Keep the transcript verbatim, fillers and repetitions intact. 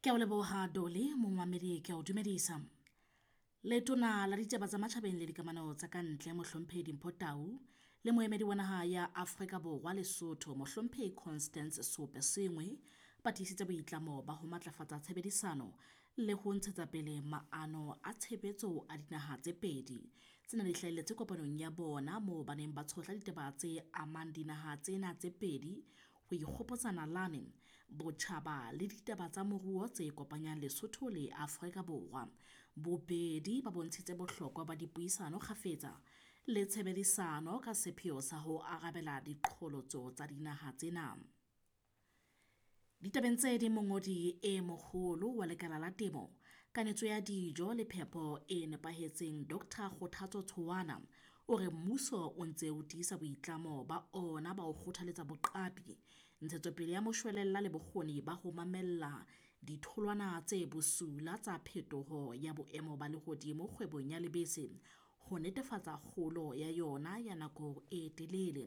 Ke a o leboha Dolly, momamedi ke a o dumedisa. Letona la ditaba tsa matjhabeng le dikamano tsa ka ntle Mohlomphehi Dimpho Tau le moemedi wa naha ya Afrika Borwa Lesotho Mohlomphehi Constance Seoposengwe ba tiisitse boitlamo ba ho matlafatsa tshebedisano le ho ntshetsa pele maano a tshebetso a dinaha tse pedi. Tsena di hlahelletse kopanong ya bona moo ba neng ba tshohla ditaba tse amang dinaha tsena tse pedi ho ikgopotsa nalane, botjhaba le ditaba tsa moruo tse kopanyang Lesotho le Afrika Borwa. Bobedi ba bontshitse bohlokwa ba dipuisano kgafetsa le tshebedisano ka sepheo sa ho arabela diqholotso tsa dinaha tsena. Ditabeng tse ding, mongodi e moholo wa lekala la temo, kanetso ya dijo le phepo e nepahetseng Doctor Kgothatso Tshoana o re mmuso o ntse o tiisa boitlamo ba ona ba ho kgothaletsa boqapi, ntshetsopele ya moshwelella le bokgoni ba ho mamella ditholwana tse bosula tsa phetoho ya boemo ba lehodimo kgwebong ya lebese ho netefatsa kgolo ya yona ya nako e telele.